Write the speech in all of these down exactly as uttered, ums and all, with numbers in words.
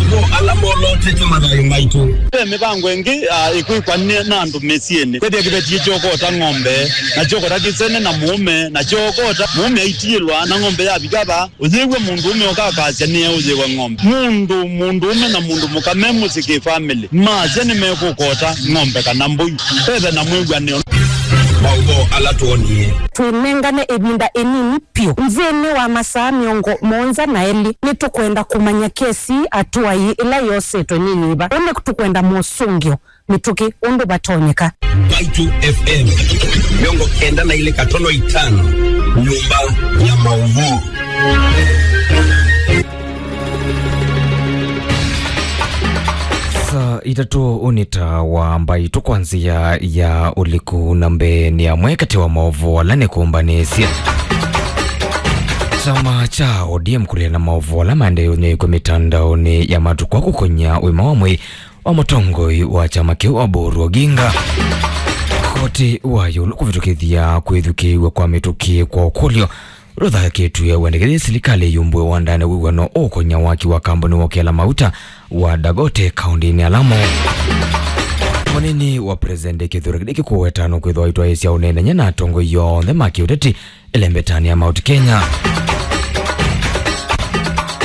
Mo ala molotete mathayũ maitũ. Ve mĩvango ĩngĩ, ah, ĩkwĩkwa nĩ, na andũ mĩsyĩnĩ. Kwĩthĩa kĩveti kyokota ng'ombe, na kyokota kĩsene na mũũme, na kyokota mũũme aitiĩlwa, na ng'ombe yavika va, ũyĩw'a mũndũũme ũkakasya nĩeũyĩwa ng'ombe. Mũndũ, mũndũũme na mũndũ mũka me mũsyĩ kĩ family, masya nĩmekũkota ng'ombe kana mbũi. Vethe na mwĩw'anĩo. Maũvoo ala twonie. Twĩnengane ĩvinda ĩnini vyũ. Nthĩnĩ wa masaa mĩongo mũonza na elĩ, nĩtũkwenda kũmanya kesi atũai ĩla yosetwe nĩ yĩva. Ũnĩ tũkwenda mosũngĩo mĩtũkĩ ũndũ vatonyeka. Mbaitũ F M, mĩongo kenda na ilĩ katono itano, nyũmba ya maũvoo. Saa itatũ ũnĩ ta wa mbaitũ kwa nzĩa ya ũliku, na mbee nĩ amwe katĩ wa maũvoo ala nĩkũmbanĩsye. Kyama kya O D M kũlea na maũvoo ala maendee ũnyaĩĩkw'a mĩtandaonĩ ya matukũ aa kũkony'a ũima wa mwĩĩ wa mũtongoi wa kyama kĩu Oburu Oginga. Koti wa ĩũlũ kũvĩtũkĩthya kwĩthukĩĩw'a kwa mĩtũkĩ kwa ũkũlyo ũla ũthakĩtw'e wendekethye silikalĩ yumbũe wandanĩ wĩw'ano ũũkony'a waki wa kambuni wa ũkĩla mauta wa Dangote kaũndĩnĩ ya Lamu. Mũnini wa President Kithure Kindiki kũweta nũkwĩthwa aitwaĩĩsya ũneenany'a na atongoi onthe ma kĩũteti ĩlembetanĩ ya Mount Kenya.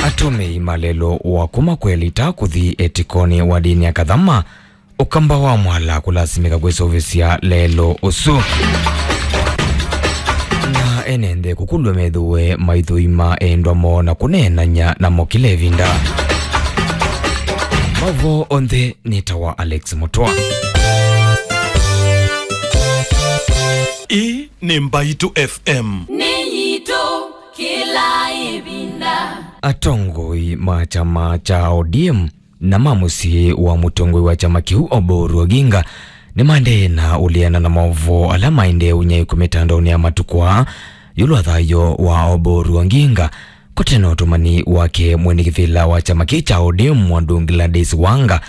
Atũmĩi ma lelũ wa kuma Kwelita kũthi Etikoni wa ndĩni ya Kathama, Ũkamba wa Mwala kũlasimĩka kwĩseũvĩsya lelũ ũsu. Na ene nthĩ kũkulw'a methĩwe maithũima endwa moo na kũneenany'a namo kĩla ĩvinda. Maũvoo onthe nĩ ta wa Alex Mũtwa. Ĩĩ nĩ Mbaitũ F M. Nĩ yitũ kĩla ĩvinda. Atongoi ma kyama kya O D M na ma mũsyĩ wa mũtongoi wa kyama kĩu Oburu Oginga nĩmaendee na ũleana na maũvoo ala maendee ũnyaĩĩkw'a mĩtandaonĩ ya matukũ aa ĩũlũ wa thayũ wa Oburu Oginga. Kũte na ũtũmani wake, mwene kĩvĩla wa kyama kĩĩ kya O D M Mwandũ Gladys Wanga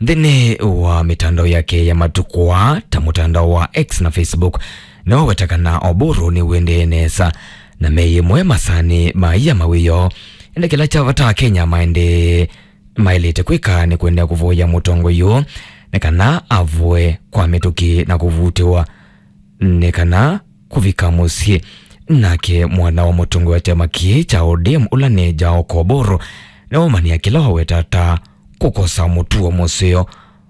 nthĩnĩ wa mĩtandao yake ya matukũ aa ta mũtandao wa X na Facebook nĩwaweta kana Oburu nĩwendee nesa na me ĩmwe masanĩ ma ia mawĩoo. Ĩndĩ kĩla kya vata, Akenya maendee maĩlĩte kwĩka nĩ kũendeea kũvoya mũtongoi ũũ nĩ kana avoe kwa mĩtũkĩ na kũvutĩwa nĩ kana kũvika mũsyĩ. Nake mwana wa mũtongoi wa kyama kĩĩ kya O D M ũla nĩ Jaoko Oburu nĩwaumania kĩla waweta ta kũkosa mũtuo mũseo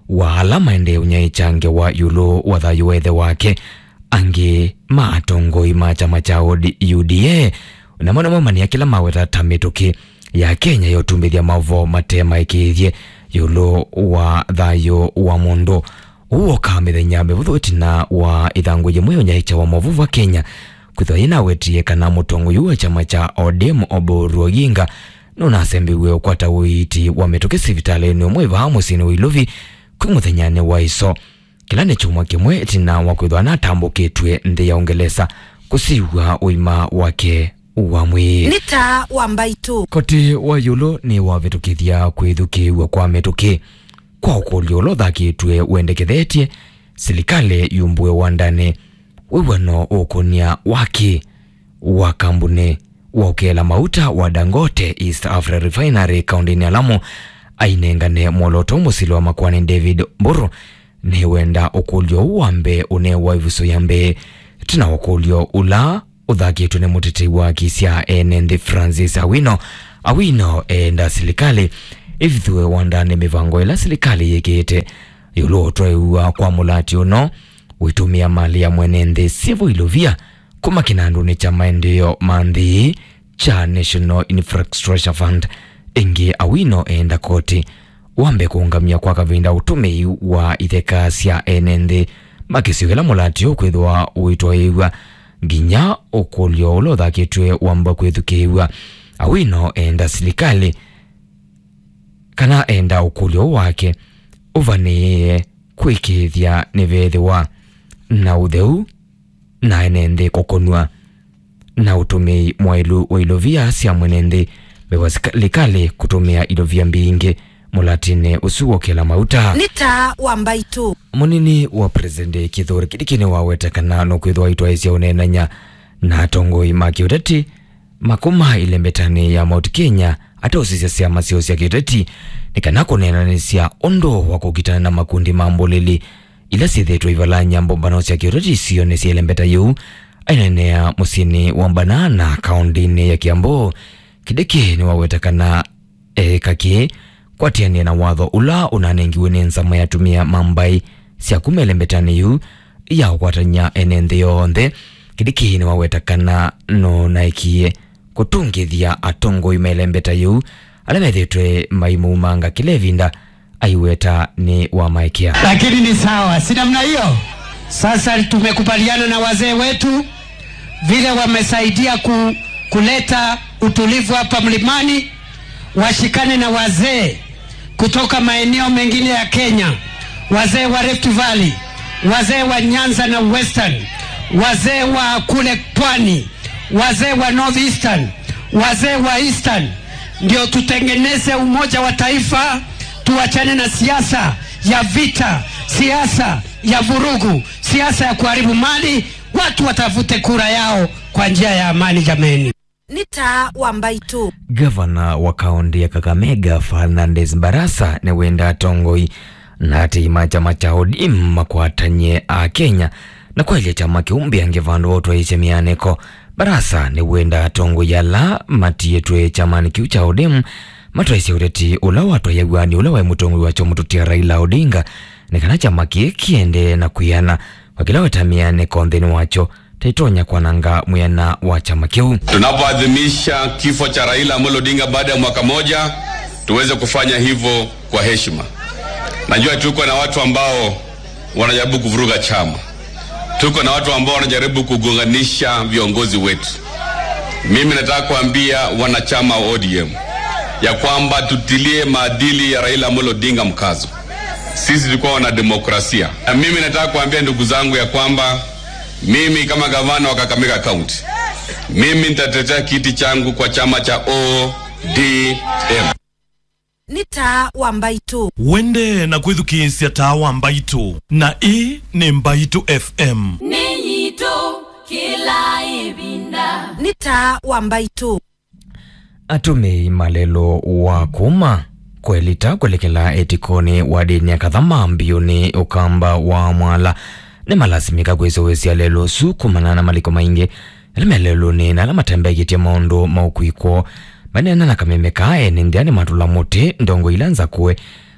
wa ala maendee ũnyaĩĩkya ngewa ĩũlũ wa thayũ wa ĩthe wake. Angĩ ma atongoi ma kyama kya U D A namo nĩmaumania kĩla maweta ta mĩtũkĩ ya Kenya ya ũtumbĩthya maũvoo mate maĩkĩĩthye ĩũlũ wa thayũ wa mũndũ. Ũu wokaa mĩthenya mĩvũthũ ĩtina wa ĩthangũ yĩmwe ya ũnyaĩĩkya wa maũvoo va Kenya kwĩthwa yĩnawetie kana mũtongoi ũũ wa kyama kya O D M Oburu Oginga nũnasembiw'e ũkwata ũiiti wa mĩtũkĩ sivitalĩnĩ ũmwe vaa mũsyĩnĩ wa Ilovi kwĩ mũthenyanĩ wa ĩso. Kĩla nĩ kyumwa kĩmwe ĩtina wa kwĩthwa anatambũkĩtw'e nthĩ ya Ũngelesa kũsiw'a ũima wake wa mwĩĩ. Nĩ taa wa Mbaitũ. Koti wa ĩũlũ nĩwavĩtũkĩthya kwĩthukĩĩw'a kwa mĩtũkĩ kwa ũkũlyo ũla ũthakĩtw'e wendekethetye silikalĩ yumbũe wandanĩ wĩw'ano ũkũnĩa waki wa kambuni wa ũkĩla mauta wa Dangote East Africa Refinery kaũndĩnĩ ya Lamu. Ainengane mwolooto mũsili wa makoani David Mburu nĩwenda ũkũlyo ũũ wa mbee ũnewa ĩvuso ya mbee ĩtina wa ũkũlyo ũla ũthakĩtwe nĩ mũtetei wa haki sya ene nthĩ Francis Awino. Awino eenda silikalĩ ĩvithũe wandanĩ mĩvango ĩla silikalĩ yĩkĩĩte ĩũlũ wa ũtwaĩwa kwa mũlati ũno wĩtũmĩa malĩ ya mwene nthĩ syĩvo ilovia kuma kĩnandũnĩ kya maendeeo ma nthĩ kya National Infrastructure Fund. Ĩngĩ, Awino eenda koti wambe kũũngamya kwa kavinda ũtũmĩi wa itheka sya ene nthĩ ma kĩsio kĩla mũlati ũkwĩthĩwa ũitwaĩĩw'a nginya ũkũlyo ũla ũthakĩtw'e wamba kwĩthukĩĩw'a. Awino eenda silikalĩ kana enda ũkũlyo ũũ wake ũvanĩĩe kwĩkĩĩthya nĩveethĩwa na ũtheu na ene nthĩ kũkũnw'a na ũtũmĩi mwaĩlu wa ilovia sya mwene nthĩ mbee wa silikalĩ kũtũmĩa ilovia mbingĩ mũlatinĩ ũsu wa ũkĩla mauta. Nĩ taa wa mbaitũ. Mũnini wa President Kithure Kindiki nĩwaweta kana nũkwĩthĩwa aitwaĩĩsya ũneenany'a na atongoi ma kĩũteti ma kuma ĩlembetanĩ ya Mount Kenya atausisya syama syoo sya kĩũteti nĩ kana kũneenanĩsya ũndũ wa kũkitana na makundi ma mbũlĩli ila syĩthĩĩtwe ivalany'a mbũmbano sya kĩũteti isionĩ sya ĩlembeta yĩu. Aineenea mũsyĩnĩ wa Banana, kaũndĩnĩ ya Kiambu, Kĩdĩkĩ nĩwaweta kana eĩka kĩĩ kwatĩanĩa na watho ũla ũnanengiwe nĩ nzama ya atumĩa ma mbaĩ sya kuma ĩlembetanĩ yĩu ya ũkwatany'a ene nthĩ yonthe. Kĩdĩkĩ nĩwaweta kana nũnaekie kũtũngĩthya atongoi ma ĩlembeta yĩu ala methĩĩtwe maimũumanga kĩla ĩvinda aiweta nĩ wamaekea. Lakini ni sawa, si namna hiyo? Sasa tumekubaliana na wazee wetu vile wamesaidia ku, kuleta utulivu hapa mlimani, washikane na wazee kutoka maeneo mengine ya Kenya, wazee wa Rift Valley, wazee wa Nyanza na Western, wazee wa kule Pwani, wazee wa North Eastern, wazee wa Eastern, ndio tutengeneze umoja wa taifa, tuachane na siasa ya vita, siasa ya vurugu, siasa ya kuharibu mali. Watu watafute kura yao kwa njia ya amani, jameni. Nĩ taa wa mbaitũ. Gavana wa kaũntĩ ya Kakamega, Fernandes Barasa, nĩwenda atongoi na atei ma kyama kya O D M makwatany'e Akenya na kwaĩlya kyama kĩu mbeange vandũ va ũtwaĩĩsya mĩanĩko. Barasa nĩwenda atongoi ala matiĩtwe kyamanĩ kĩu kya O D M matwaĩĩsye ũteti ũla watwaĩaw'a nĩ ũla waĩ mũtongoi wakyo mũtũtia Raila Odinga, nĩ kana kyama kĩĩ kĩendee na kwĩana kwa kĩla weta mĩanĩko nthĩnĩ wakyo ta itonya kwananga mwĩana wa kyama kĩu. Tunapoadhimisha kifo cha Raila Amolo Odinga baada ya mwaka moja, tuweze kufanya hivyo kwa heshima. Najua tuko na watu ambao wanajaribu kuvuruga chama. Tuko na watu ambao wanajaribu kugonganisha viongozi wetu. Mimi nataka kuambia wanachama wa O D M ya kwamba tutilie maadili ya Raila Amolo Odinga mkazo. Sisi tulikuwa wana demokrasia. Na mimi nataka kuambia ndugu zangu ya kwamba mimi kama gavana wa Kakamega County, mimi nitatetea kiti changu kwa chama cha O D M. Nĩ taa wa mbaitũ. Wende na kwĩthukĩĩsya taa wa mbaitũ, na ĩĩ nĩ Mbaitũ F M. Nĩ yitũ kĩla ĩvinda. Nĩ taa wa mbaitũ. Atũmĩi ma lelũ wa kuma Kwelita kwelekela ĩtikonĩ wa ndĩni ya Kathama mbiũnĩ Ũkamba wa Mwala nĩmalasimĩka kwĩsũvĩsya lelũ ũsu kumana na maliko maingĩ ala me lelũnĩ na ala matembekĩtye maũndũ ma ũkui kwoo. Maneena na kameme kaa, ene nthĩ nĩmatũla mũtĩ ndongo ila nzakũe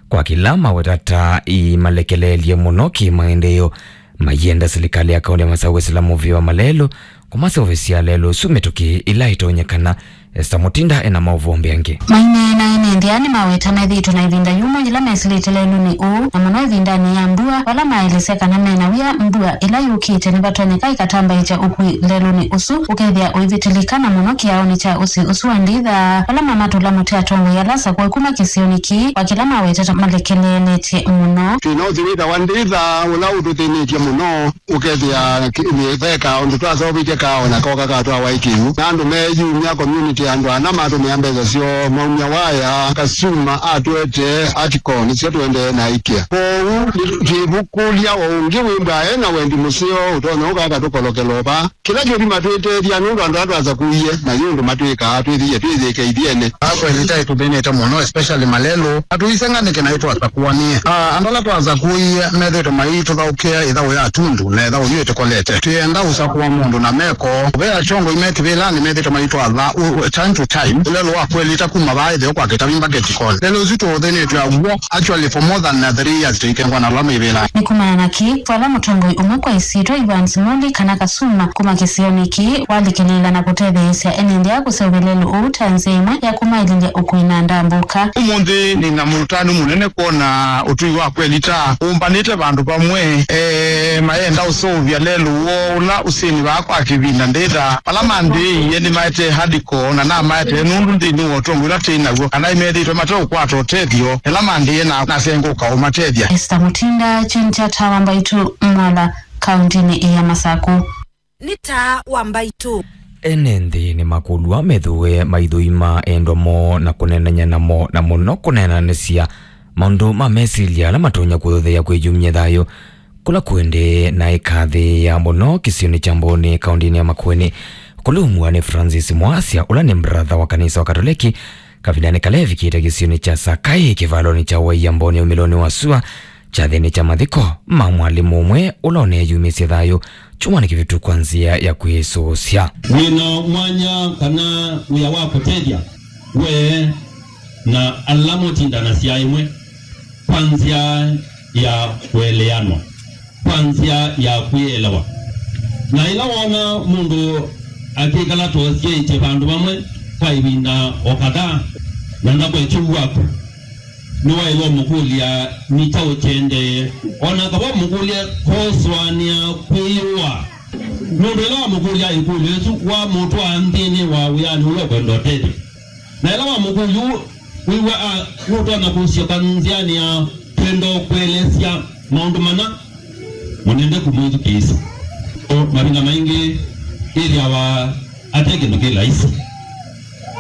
kwa kĩla maweta ta imalekeleelye mũno kĩ-maendeeo. Maienda silikalĩ ya kaũntĩ ya Masaku kwĩsĩla mũvĩa wa malelũ kũmaseũvĩsya lelũ ũsu mĩtũkĩ ĩla ĩtonyekana. Esther Mutinda ena maũvoo mbeange. Maineena ene nthĩ nĩmaweta methĩĩtwe na ĩvinda yũmũ yĩla mesĩlĩte lelũnĩ ũũ, na mũno ĩvindanĩ ya mbua, vala maelesya kana mena wia mbua ĩla yũkĩte nĩvatonyeka ĩkatambaĩkya ũkui lelũnĩ ũsu ũkethĩa ũivĩtĩlĩka, na mũno kĩaonĩ kya ũsĩ ũsu wa Nditha, vala mamatũla mũtĩ atongoi ala asakũe kuma kĩsionĩ kĩĩ, kwa kĩla mawetete malekeleeletye mũno. Thĩna ũsu wĩtawa Nditha ũla ũtũthĩnĩtye mũno. Ũkethĩa ki-, ve kaũndũ twaseũvĩtye kaa o na koka katwawa ĩkĩu, na andũ meeyumya community, andũ ana matũmĩa mbesa syoo maumya waya, customer atũetee article nĩsyo tũendee na ikĩa. Kwoou, twĩvukũlya o ũngĩ wĩmbwa e na wendi mũseo ũtonya ũka akatũkolokela ũva. Kĩla kĩthima twĩtethya nũndũ andũ ala twasakũie, na yu ũndũ matwĩkaa, twĩthĩie twĩyĩke ithyĩnĩ. Akweli, tai tũthĩnĩte mũno, especially malelũ. Atũisenga nĩkĩ na ĩtwasakũanie? Ah, andũ ala twasakũie methĩĩtwe maitũthaũkĩa ĩthaũ ya tundu, na ĩthaũ yu ĩtũkolete. Twĩenda ũsakũa mũndũ na meko. Ve atongoi me kĩvĩlanĩ methĩĩtwe maitwatha u-, u-, time to time. Ũlelũ wa Kwelita kuma vaa ĩtheo kwa Kĩtavi mbaketi koni. Lelũ ũsu tũũthĩnĩtwe aw'o, actually, for more than, uh, three years tũikengwa na ala me ĩvĩlanĩ. Nĩ kumana na kĩ, vala mũtongoi ũmwe kwa ĩsyĩtwa Evans Muli kana Kasuma kuma kĩsionĩ kĩĩ walikĩlĩĩla na kũtetheesya ene nthĩ kũseũvya lelũ ũũ ta nzĩa ĩmwe ya kũmaĩlĩlya ũkui na ndambũka. Ũmũnthĩ nĩ na mũtanu mũnene kwona ũtũi wa Kwelita ũmbanĩte vandũ vamwe, eh, mayenda ũseũvya lelũ woo ũla ũsĩnĩ vaa kwa kĩvinda Nditha. Vala manthĩĩie nĩmaetee article na namaetee nũndũ nthĩnĩ wa ũtongoi ũla twĩ naw'o, kana nĩmethĩĩtwe mateũkwata ũtethyo ĩla manthĩĩe na nasengũka ũmatethya. Esther Mutinda, kyeni kya Tawa Mbaitũ, Mwala, kaũntĩnĩ ya Masaku. Nĩ taa wa mbaitũ. Ene nthĩ nĩmakũlw'a methũe maithũima endwa moo na kũneenany'a namo, na mũno kũneenanĩsya maũndũ ma mesilya ala matonya kũthũthĩa kwĩyumya thayũ kũla kũendee na ĩkathĩĩa mũno kĩsionĩ kya Mboni, kaũndĩnĩ ya Makueni. Kũlũmw'a nĩ Francis Mwasya, ũla nĩ mbaratha wa kanisa wa Katoleki, Kavindanĩ kala evikĩte kĩsionĩ kya Sakai kĩvalonĩ kya Waiamboni umĩlonĩ wa sua kyathĩnĩ kya mathiko ma mwalimũ ũmwe ũla ũneeyumĩsye thayũ kyumwanĩ kĩvĩtu kwa nzĩa ya kwĩsũsya. Wĩna mwanya kana wĩa wa kũtethya we na ala mũtindanasya ĩmwe kwa nzĩa ya kũeleanwa, kwa nzĩa ya kwĩelewa. Na ĩla woona mũndũ akĩkala tosyeĩtye vandũ vamwe kwa ĩvinda o kadhaa na ndakwetye ũw'o waku, nĩwaĩlwe ũmũkũlya nĩ kyaũ kĩendee. O na aka wamũkũlya kosũanĩa kwĩyĩũa, nũndũ ĩla wamũkũlya ĩkũlyo ĩsu wamũtwaa nthĩnĩ wa wĩanĩ ũla ũkwenda ũtethyo. Na ĩla wamũkũlya ũu wĩw'a a nũtonya kũsyoka nzĩanĩ ya kwenda ũkũelesya maũndũ mana, mũnende kũmwĩthukĩĩsya. O mavinda maingĩ ĩthĩawa ate kĩndũ kĩ laisi.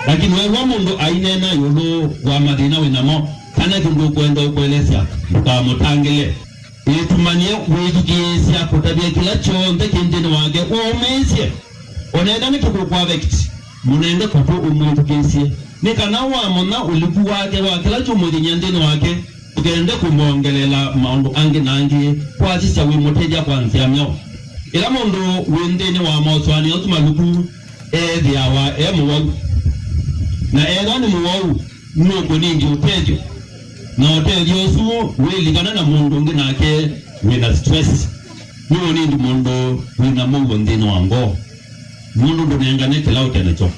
Lakini weew'a mũndũ aineena ĩũlũ wa mathĩna wĩ namo, kana kĩndũ ũkwenda ũkũelesya, ndũkamũtangĩle. Ĩtumany'e wĩthukĩĩsya kũtavya kĩla kyonthe kĩ nthĩnĩ wake ũũmĩĩsye. O na enda nĩkĩkũkũaffect, mũnende kũtũ ũmwĩthukĩĩsye, nĩ kana wamanya ũliku wake wa kĩla kyũmũthĩny'a nthĩnĩ wake, ndũkende kũmwongeleela maũndũ angĩ na angĩ kwasisya wĩmũtethya kwa nzĩa myaũ. Ĩla mũndũ wĩ nthĩnĩ wa mosũanĩo asu maluku ethĩawa e mũwau, na ethwa nĩ mũwau, nũkũnindi ũtethyo, na ũtethyo ũsu wĩlikana na mũndũ ũngĩ nake wĩ na stress. Nũũnindi mũndũ wĩ na mũuo nthĩnĩ wa ngoo, nũndũ ndũnengane kĩla ũte nakyo.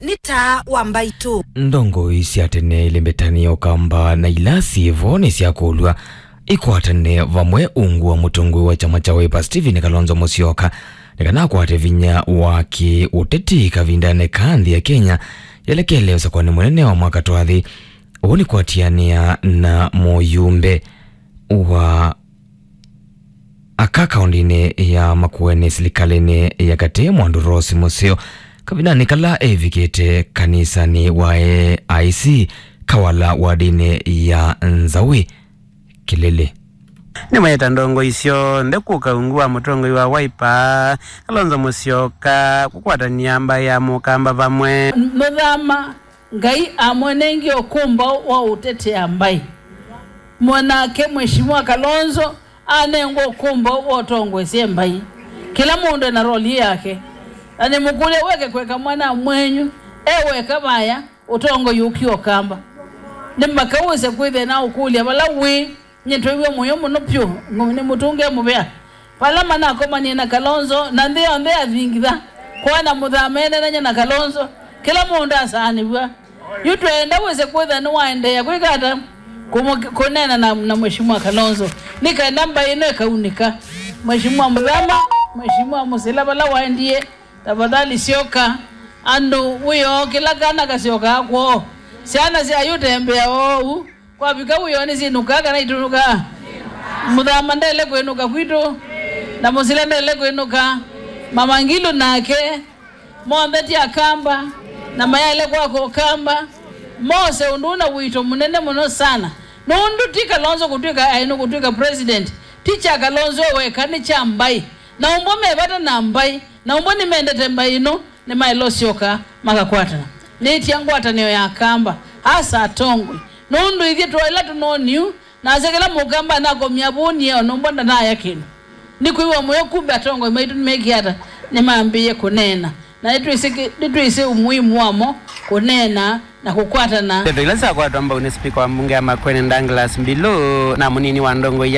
Nĩ taa wa mbaitũ. Ndongoi sya tene ilĩ Mbetani ya Ũkamba na ila syĩ vo nĩsyakũlw'a ikwatane vamwe ungu wa mũtongoi wa kyama kya Wiper Stephen Kalonzo Musyoka nĩ kana akwate vinya wa kĩ-ũteti kavindanĩ ka nthĩ ya Kenya yelekele ũsakũanĩ mũnene wa mwaka twathi. Ũu nĩ kũatĩanĩa na mũyumbe wa aka kaũndĩnĩ ya Makueni silikalĩnĩ ya katĩ, Mwandu Rose Museo, kavindanĩ kala evikĩte kanisanĩ wa A I C Kawala wadinĩ ya Nzawi Kĩlĩlĩ. Nĩmaĩta ndongoi syonthe kũka ungu wa mũtongoi wa Wiper, Kalonzo Musyoka, kũkwatany'a mbaĩ ya Mũkamba vamwe. Mũthama Ngai amũnengie ũkũmbaũ wa ũtetea mbaĩ. Mwanake Mheshimiwa Kalonzo anengwa ũkũmbaũ wa ũtongoesye mbaĩ. Kĩla mũndũ ena roli yake. Na nĩmũkũlya weke kweka mwana mwenyu, e weka vaya, ũtongoi ũkĩ Ũkamba. Nĩ mbaka wĩse kwĩthĩa na ũkũlya vala wĩ, nyie twĩw'a mũyo mũno pyũ, ngũ-, nĩmũtũnge mũvea. Vala manakomanie na Kalonzo, na nthĩ yonthe yathingitha, kwana mũthama enenany'a na Kalonzo, kĩla mũndũ asaanĩw'a. Yu twenda wĩse kwĩtha nĩwaendeea kwĩka ata? Kũmũ-, kũneena na, na Mheshimiwa Kalonzo, nĩ kenda mbaĩ ĩno ĩkaunĩka. Mheshimiwa Mũthama, Mheshimiwa Mũsila, vala waendie, tafadhali syoka. Andũ wĩoo, kĩla kana kasyokaa kwoo. Syana sya yu tembea oou. Kwavika wĩoo nĩsyĩnũkaa kana itũnũkaa? Mũthama ndele kwĩnũka kwitũ, na Mũsila ndele kwĩnũka. Mama Ngilu nake, monthe ti Akamba, na mayaĩle kwaka Ũkamba. Mose ũndũ ũna wĩito mũnene mũno sana. Nũndũ ti Kalonzo kũtw'ĩka aĩ nũkũtw'ĩka president, ti kya Kalonzo e weka, nĩ kya mbaĩ. Na ũmbwa me vata na mbaĩ, na ũmbwa nĩmendete mbaĩ ĩno, nĩmaĩle ũsyoka makakwatana. Nĩtia ngwatanĩo ya Akamba, asa atongoi. Nũndũ ithyĩ twaĩla tũnoniu, nase kĩla Mũkamba anakomya vũnie, o na ũmbwa ndanaya kĩndũ. Nĩkwĩw'a mũyo, kumbe atongoi maitũ nĩmekie ata? Nĩmambĩĩe kũneena. Na nĩtwĩsĩ kĩ-, nĩtwĩsĩ umuhimu wamo kũneena na kũkwatana. Ndeto ila syakwatwa mbau nĩ spika wa mbunge ya Makueni Douglas Mbilu na mũnini wa ndongoi ya